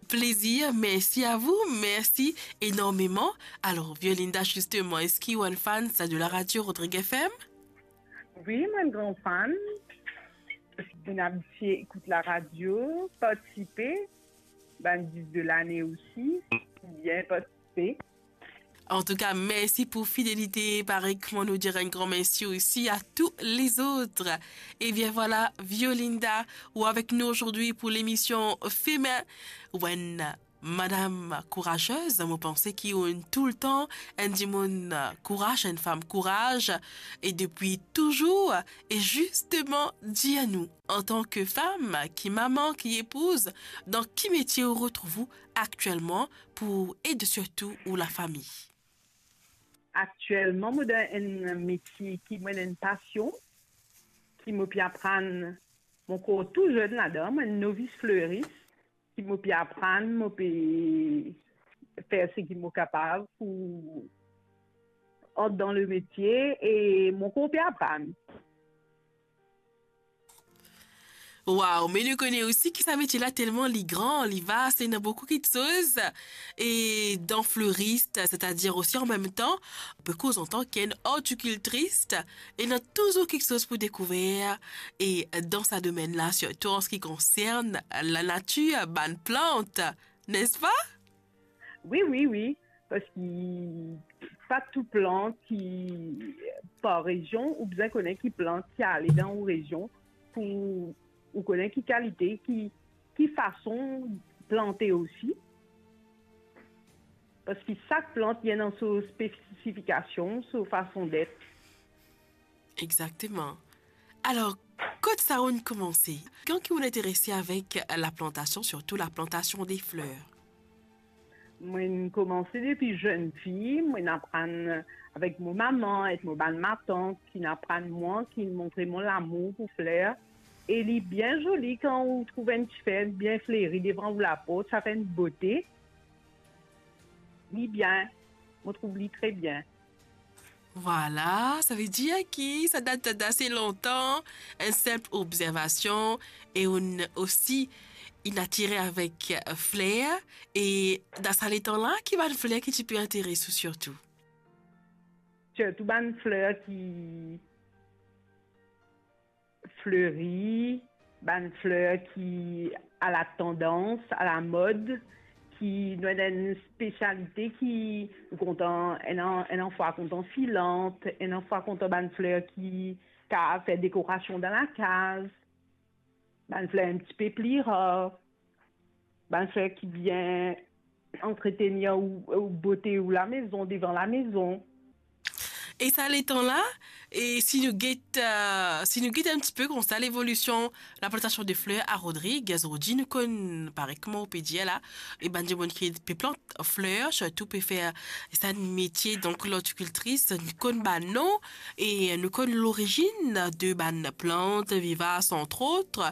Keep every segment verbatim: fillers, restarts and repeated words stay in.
Plaisir, merci à vous, merci énormément. Alors, Violinda, justement, est-ce que tu es une fan de la radio Rodrigue F M? Wi, mwa enn gran fan. Mwa abitie ekout laradio, partisipe, bann dis de lane osi, bien partisipe. En tout cas, merci pour fidélité. Pareil, comment nous dire un grand merci aussi à tous les autres. Eh bien voilà, Violinda, ou avec nous aujourd'hui pour l'émission Fémin. Ou enn madam kourazez, mo panse ki ou ena toultan enn dimoun kouraz, enn fam kouraz, e depi touzour, e zisteman, dir nou, antan ki fam, ki mama, ki epouz, dan ki metie ou retrouv ou aktielman pou ed sirtou ou lafami? Aktielman, mo dan enn metie ki mo ena enn pasion, ki mo pe aprann, mo ankor tou zenn ladan, mo enn novis fleris, ki mo pe aprann, mo pe fer seki mo kapav pou ant dan le metie e mo ankor pe aprann. Waw, me nou kone osi ki sa metie la telman li gran, li vas, ena boukou kiksoz. E dan fleris, setadir osi an mem tan, pe koz antan ki enn ortikiltris, ena touzour kiksoz pou dekouver, e dan sa domenn la, sirtou an se ki konsern lanatir, bann plant, nespa? Wi, wi, wi, parski pa tou plant ki par rezion, ou bizin kone ki plant ki ale dan ou rezion pou ou kone ki kalite, ki, ki fason plante osi. Parski sak plant li ena so spesifikasion, so fason det. Exakteman. Alor, kot sa ou'nn koumanse? Kan ki ou'nn interese avek laplantasion, sirtou laplantasion de fler? Mo'nn koumanse depi zenn fi, mo'nn aprann avek mo mama ek mo bann matant ki'nn aprann mwa, ki'nn montre mwa lamour pou fler. E li bien zoli kan ou trouv enn tifer bien fleri devan ou laport, sa fer enn bote. Li bien, mo trouv li tre bien. Vwala, savedir ki sa dat dase lontan, enn sinp obzervasion, e ou'nn osi inn atire avek fler, e dan sa letan la, ki bann fler ki ti pe interes ou sirtou? Sirtou bann fler ki fleri, bann fler ki a la tandans, a la mod, ki nou ena enn spesialite ki nou kontan, ena, ena fwa kontan filant, ena fwa kontan bann fler ki kapav fer dekorasion dan lakaz, bann fler enn tipe pli rar. Bann fler ki bien antretenir ou, ou bote ou lamezon, devan lamezon. E sa letan la, e si nou get, eh, si nou get enn tipe koumsa levolision laplantasion de fler a Rodrig, zordi nou konn, parey kouma ou pe dir la, e bann dimoun ki pe plant fler, sirtou pe fer sa metie, donk lortikiltris, nou konn bann non, e nou konn lorizinn de bann plant vivas, antrot,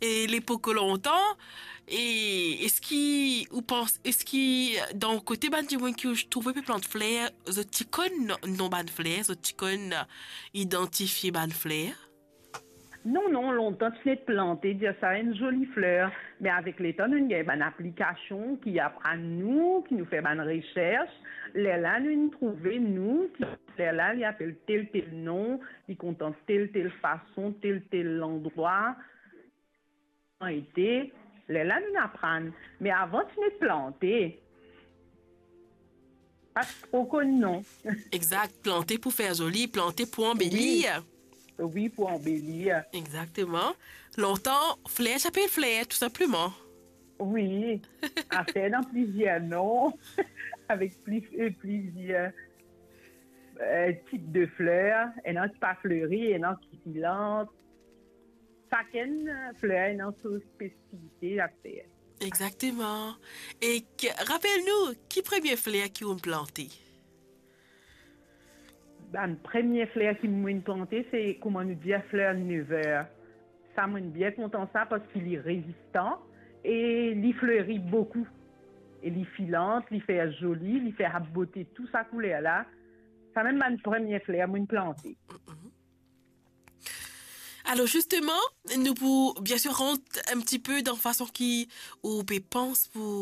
e lepok lontan, e eski ou pans, eski dan kote bann dimoun ki ou trouve pe plant fler, zot ti konn non bann fler, zot ti konn idantifie bann fler? Non, non, lontan ti net plante, dir sa enn zoli fler, me avek letan nou gagn bann aplikasion ki aprann nou, ki nou fer bann resers, lerla nou trouve nou ki lerla li apel tel tel non, li kontan tel tel fason, tel tel landrwa. Ete, lerla nou aprann. Me avan ti net plante, pa tro konn non. Exakt, plante pou fer zoli, plante pou anbelir. Wi. Wi, pou anbelir. Exakteman. Lontan, fler ti apel fler, tou sinpleman. Wi. Aster ena plizier non, avek pli, eh, plizier, eh, tip de fler. Ena ki pa fleri, ena ki filant. Sakenn, eh, fler ena so spesifite aster. Exakteman. E ki, rapel nou, ki premie fler ki ou'nn plante? Bann premie fler ki mo'nn plante, se, kouma nou dir, fler never. Sa, mo'nn bien kontan sa, parski li rezistan e li fleri boukou. E li filant, li fer zoli, li fer bote tou sa kouler la. Samem bann premie fler mo'nn plante. Mm-mm. Alor, zisteman, nou pou, bien sir, rant enn tipe dan fason ki ou pe pans pou